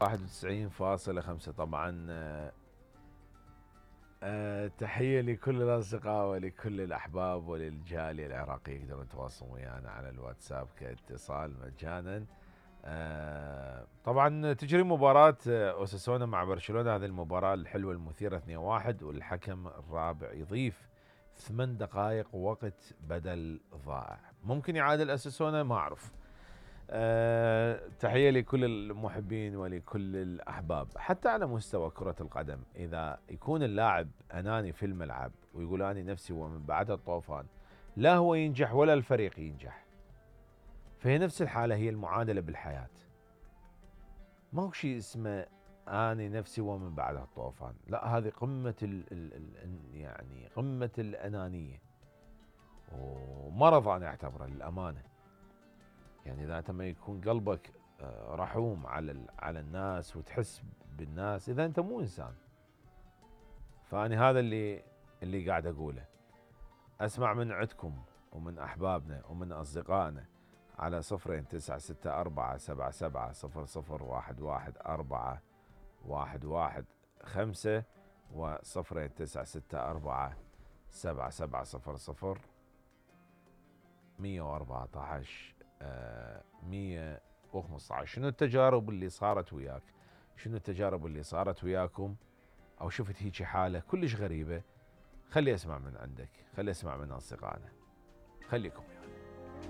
91.5 طبعا. تحية لكل الأصدقاء ولكل الأحباب وللجالية العراقية يقدرون يتواصلون ويانا على الواتساب كاتصال مجانا. طبعا تجري مباراة أوساسونا مع برشلونة، هذه المباراة الحلوة المثيرة 2-1، والحكم الرابع يضيف 8 دقائق وقت بدل ضائع. ممكن يعادل أوساسونا، ما أعرف. تحية لكل المحبين ولكل الأحباب. حتى على مستوى كرة القدم، إذا يكون اللاعب أناني في الملعب ويقول أني نفسي ومن بعدها الطوفان، لا هو ينجح ولا الفريق ينجح. فهي نفس الحالة، هي المعادلة بالحياة. ما هو شيء اسمه أني نفسي ومن بعدها الطوفان، لا، هذه قمة يعني قمة الأنانية ومرض أنا أعتبره للأمانة. يعني إذا أنت ما يكون قلبك رحوم على الناس وتحس بالناس، إذا أنت مو إنسان. فأنا هذا اللي قاعد أقوله. أسمع من عندكم ومن أحبابنا ومن أصدقائنا على 0964-7700-11-4-115 و 0964-7700-114 115. شنو التجارب اللي صارت وياك؟ شنو التجارب اللي صارت وياكم؟ او شفت هيك حالة كلش غريبة؟ خلي اسمع من عندك، خلي اسمع من اصدقائنا. خليكم